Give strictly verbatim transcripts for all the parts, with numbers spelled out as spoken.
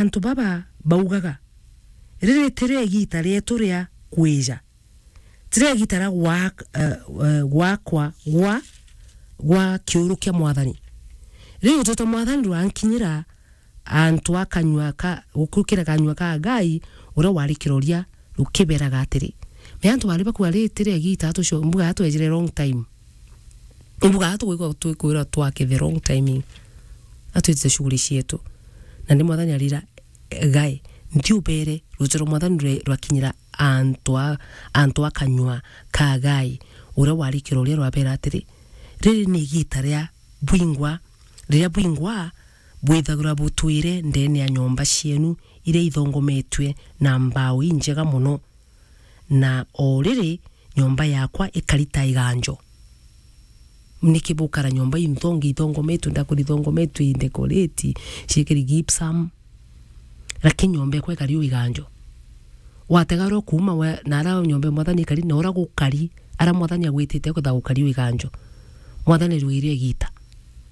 antu baba baugaga, "Riri tirio igiita rietu ria kwija, tirio igiita ria gwak-, eh, eh, gwakwa gwa, gwa kiuru kia Mwathani." Riu rutito Mwathani rwankinyira antu a kanyua ka, gukira kanyua ka Agai, uria wari kiroria, rukiberaga atiri, "Me antu bari bakuga riri tirio igiita tucio, mbuga twejire wrong time." Imbuga tugwikwa twikwirwa twake the wrong timing. Atwitite shughuli cietu. Na ndi Mwathani arira, "Gai, ntiubere, ruuji rwa Mwathani rwe-, rwakinyira antu a, antu a kanyua ka Gai, uria wari kiroria rwabera atiri, 'Riri ni igiita ria bwingwa, riria bwingwa bwithagirwa butwire ndeene ya nyomba cienu iria ithongometue na mbao injega mono.' Na o riri nyomba yakwa ikari ta iganjo. Niki bukara nyomba inthongi ithongometwe, ndakuri ithongometwe, indekoreti, ciikiri gypsum, lakini nyomba ekwa ikari o iganjo? Watega uria ukuuma we, na ara nyomba ya Mwathani ikari, na uria gukari, ara Mwathani agwitite kwitha gukari o iganjo. Mwathani rwire igiita.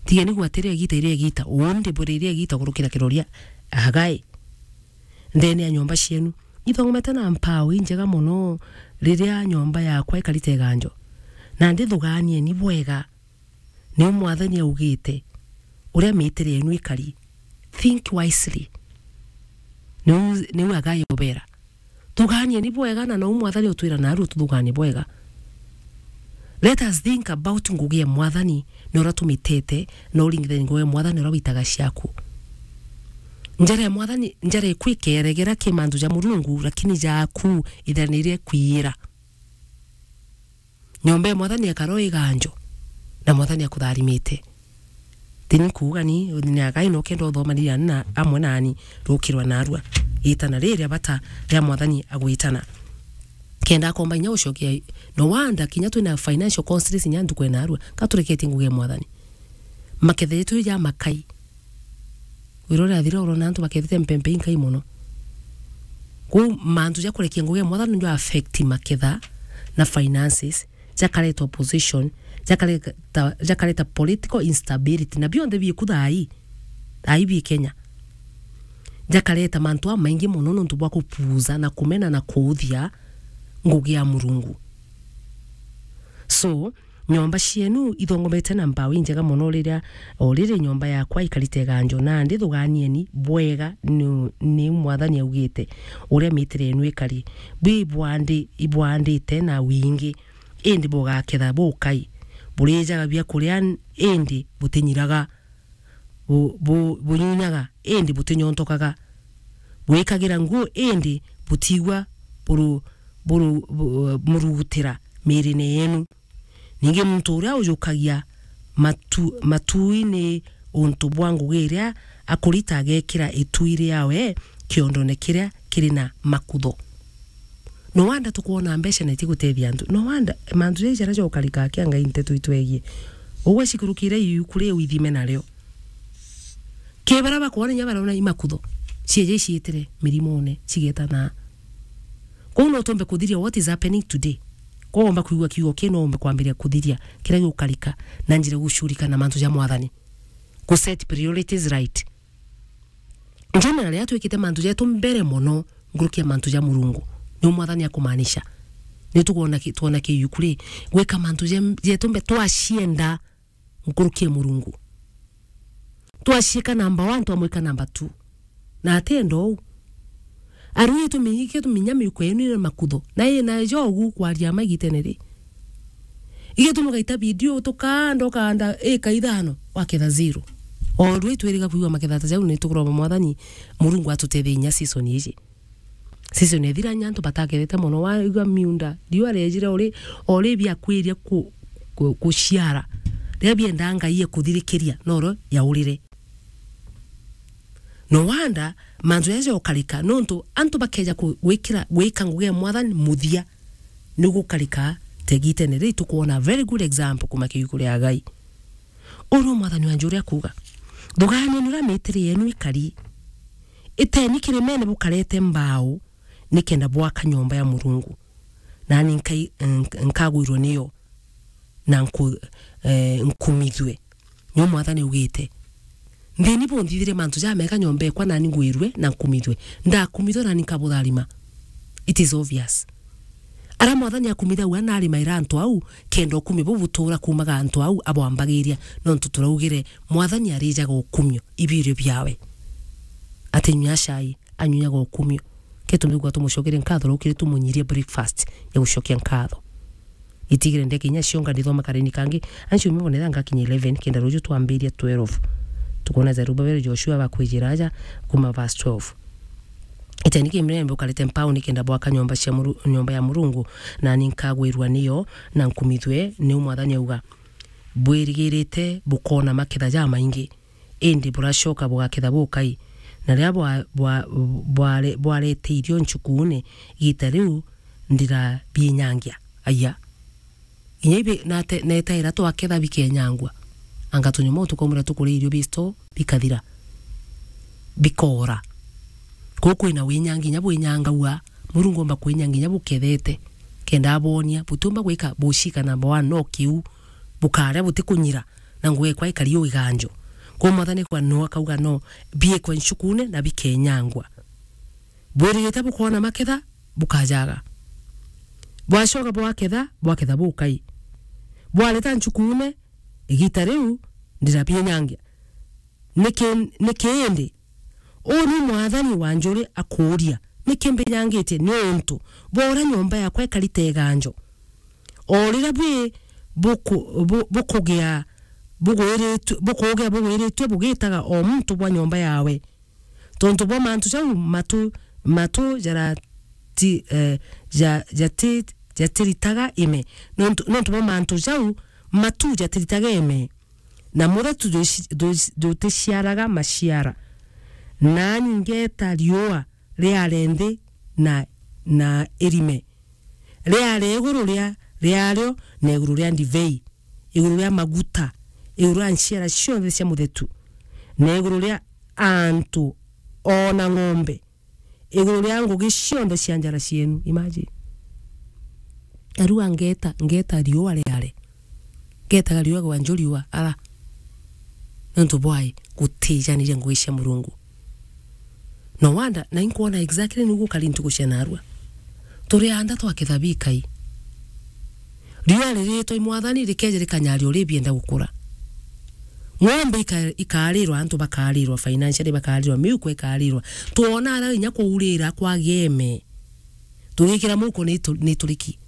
Tigeni gwatiria igiita, iria igiita. Undi bwire iria igiita kurukira kiroria. Agai. Ndeene ya nyomba cienu. Ithongomete na mpao injega mono riria nyomba yakwa ikarite iganjo. Na ndithugaanieni bwega, niu Mwathani augite, uria miitire yenu ikari. Think wisely. Niu, niu Agai obera. Thugaanieni bwega, na nou Mwathani utwira naarua tuthugaanie bwega. Let us think about ngugi ya Mwathani, na uria tumitete, na uringithanie ngugi ya Mwathani uria witaga ciaku. Njara ya Mwathani, njara iku ikeregera ki mantu ja Murungu, lakini jaaku ithanire kwiira. Nyomba ya Mwathani ekara o iganjo, na Mwathani akutharimite. Tini kuuga ni, ni Agai no kenda uthomanire ani na amwe nani rukirwa narua. Itana riria bata ria Mwathani agwitana. Kenda akomba inya gucokia, no wanda kinya twina financial constraints inya ntuku ya narua, ka tureketie ngugi ya Mwathani. Maketha jetu ja makai. Wira uria athira urona antu bakethite mpempe inkai mono. Kwou mantu ja kurekia ngugi ya Mwathani njo affect maketha na finances, jakareta opposition, jakareta, jakareta political instability, na bionthe biku thaai, thaai bi Kenya. Jakareta mantu amaingi mono nontu bwa kupuuza na kumena na kuuthia ngugi ya Murungu. So, nyomba cienu ithongomete na mbao injega mono riria, o riri nyomba yakwa ikarite iganjo, nandi thugaanieni bwega, ni, ni Mwathani augite, uria miitire yenu ikari. Bwi ibwandi-, ibwandite na wingi, indi bugaketha bukai. Burijaga biakuria, indi butinyiraga. Bu-, bu-, bunyunyaga, indi butinyontokaga. Bwikagira nguo, indi butiigua buru-, buru-, bu-, murugutira miirine yenu. Ningi muntu uria ujukagia matu-, matui ni untu bwa ngugi iria akurita, agekira itui riawe kiondone kiria kiri na makutho. No wanda tukwona mbeca na itigutethia antu. No wanda mantu jaja jaria jokarika akia Ngai nteto itwegie. Ugwe cikurukire iu kuri withime nario. Ki baria bakwona inya barona imakutho. Cieje iciitire mirimone, cigetana. Kwou no tumbe kuthiria what is happening today. Kwou womba kwigua kiugo kii, no umbe kwambiria kuthiria kiria giukarika na njira gucurika na mantu ja Mwathani. Ku set priorities right. Generally, atwikite mantu jetu mbere mono nkuruki ya mantu ja Murungu. Niu Mwathani akumaanisha. Ni tukwona ki-, twona kiu kuri gwika mantu je-, jetu mbe twacienda nkuruki ya Murungu. Twaciika namba one, twamwika namba two. Na atienda uu. Arui, tuminyike tuminya miuko yenu ina makutho. Na ina jogu kwaria ma igitene ri. Igituma ugaita video tukanda, ukanda ika ithano, waketha zero. O rui twiriga kwigua maketha ta jau, ni tukuromba Mwathani Murungu atutethie inya season iji. Season ethira inya antu batakethete mono, waigua miunda, riua riejire uri, uri biakwiria ku-, ku-, kuciara. Riria bienda Ngai ekuthirikiria, noro yaurire. No wanda, mantu jaja jokarika, nontu antu bakeja ku-, gwikira, gwika ngugi ya Mwathani muthia, ni gukarika tegitene. Ri tukwona a very good example kuma kiugo kia Agai. Uu niu Mwathani wa njuuri akuuga, thugaanieni uria miitiri yenu ikari. Iteni kirimene bukarete mbao, nikenda bwaka nyomba ya Murungu. Nani nkai-, nk-, nkagwirwe niyo, na nku-, eh, nkumithue. Niu Mwathani augite. Nthini bunthithirie mantu jamega nyomba ekwa nani ngwirue na nkumithue. Ndakumithua nani nkabutharima. It is obvious. Ara Mwathani akumithagua narimaira antu au, kenda ukumio buu butura kuumaga antu au abwambagiria, nontu turaugire, Mwathani arijaga ukumio ibirio biawe. Atinyua cai, anyuaga ukumio. Ke tumbigua tumucokerie nkatho rukiri tumunyirie breakfast ya gucokia nkatho. Itigire ndeke inya cionga ndithoma kareni kangi. Ancio mibone thanga kinya eleven, kenda ruju twambiria twelve. Tukwona Zerubabeli, Joshua bakwijira aja kuma verse twelve. Iteni kimire mbe ukarite mpauni kenda bwaka nyomba cia Muru-, nyomba ya Murungu, nani nkagwirua niyo, na nkumithue, niu Mwathani auga. Bwirigirite bukona maketha jamaingi, indi buracoka bugaketha bukai. Na riria bwa-, bwa-, bware-, bwareteirio nchukuune, igita riu ndirabinyangia. Aya. Inya ibi nate-, netaira twaketha bikenyangua. Anga tunyuma tukaumira tukuria irio bisto bikathira. Bikora. Kuu kwina winyangi inya bwinyangagua. Murungu omba kwinyangi inya bukethete. Kenda abonia, butiumba gwika bucika namba one no kiu. Bukaria butikunyira. Na ngugi ekwa ikari o iganjo. Kuu Mwathani kwa no akauga no. Biekwa nchukuune na bikenyangua. Bwirigite bukoona maketha, bukajaga. Bwacoka bwaketha, bwaketha bukai. Bwareta nchukuune, igita riu ndirabinyangia. Niki, niki indi? Uu ni Mwathani wa njuri akuuria, niki mbinyangitie? Niuntu bwa uria nyomba yakwa ikarite iganjo. O riria bwi buku-, bu-, bukugia bugwiritue, bukugia bugwiritue bugitaga o muntu bwa nyomba yawe. Tontu bwa mantu jau matu, matu jarati-, eh, ja-, jati-, jatiritaga ime. Nontu, nontu bwa mantu jau matu jatiritaga ime. Na muthetu juci-, juci-, juticiaraga maciara. Nani ngeta riua riare nthi na, na irime. Riare iguru ria, riario na iguru ria ndibei, iguru ria maguta, iguru ria nciara cionthe cia muthetu, na iguru ria antu ona ng'ombe, iguru ria ngugi cionthe cia njara cienu. Imagine. Ariu angeta, ngeta riua riare. Ngetaga riua gwa njo riua, ara. Nontu bwai, gutijaniria ngugi cia Murungu. No wonder, na inkwona exactly niu gukari ntuku cia narua. Turi anda twaketha bikai. Riua riritwa i Mwathani rikeja rikanyaria uria bienda gukura. Ng'ombe ika-, ikarirwa, antu bakarirwa, financially bakarirwa, miuko ikarirwa. Twona ara inya kuurira kwa geme. Tugikira muko ni tu-, ni turiki.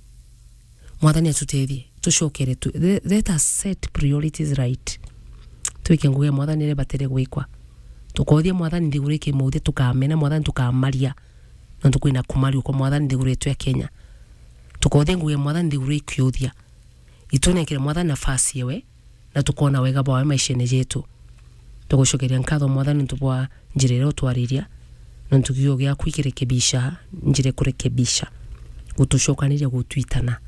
Mwathani atutethie, tucokere tu, le-, let us set priorities right. Twike ngugi ya Mwathani iria ibatere gwikwa. Tukothia Mwathani nthiguru ikimuthia, tukamena Mwathani, tukamaria. Nontu kwina kumaria kwa Mwathani nthiguru yetu ya Kenya. Tukothia ngugi ya Mwathani nthiguru ikiuthia. Itunenkere Mwathani nafasi ewe, na tukona wega bwawe maishene jetu. Tugucokeria nkatho Mwathani nontu bwa njira iria utwariria, nontu kiugo giaku ikirekebisha, njira ikurekebisha, gutucokaniria gutwitana.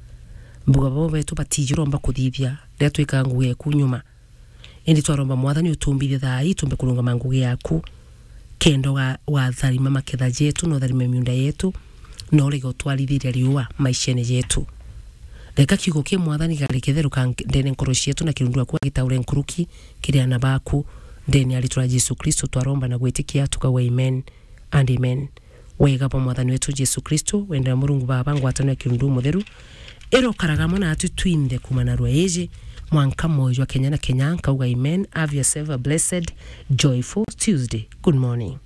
Mbuga babo betu batiji uromba kuthithia, riria twikaga ngugi eku nyuma. Indi twaromba Mwathani utumbithie thaa ii tumbe kurungama ngugi yaku, kenda uga-, ugatharima maketha jetu, na utharime miunda yetu, na urege utwarithiria riua maishene jetu. Reka kiugo kia Mwathani gari ketheruka nk-, ndene nkoro cietu na kirundu aku agitaure nkuruki kiri ana baku. Ndene ya ritwa ria Jesu Kristo twaromba na gwitikia tukauga amen and amen. Wega bwa Mwathani wetu Jesu Kristo, wendo wa Murungu Baba, ngwataniro ya kirundu mutheru, irokaraga amwe natu twinthe kuuma narua iji, mwanka mwoyo jwa kenya na kenya, nkauga amen. Have yourself a blessed, joyful Tuesday. Good morning.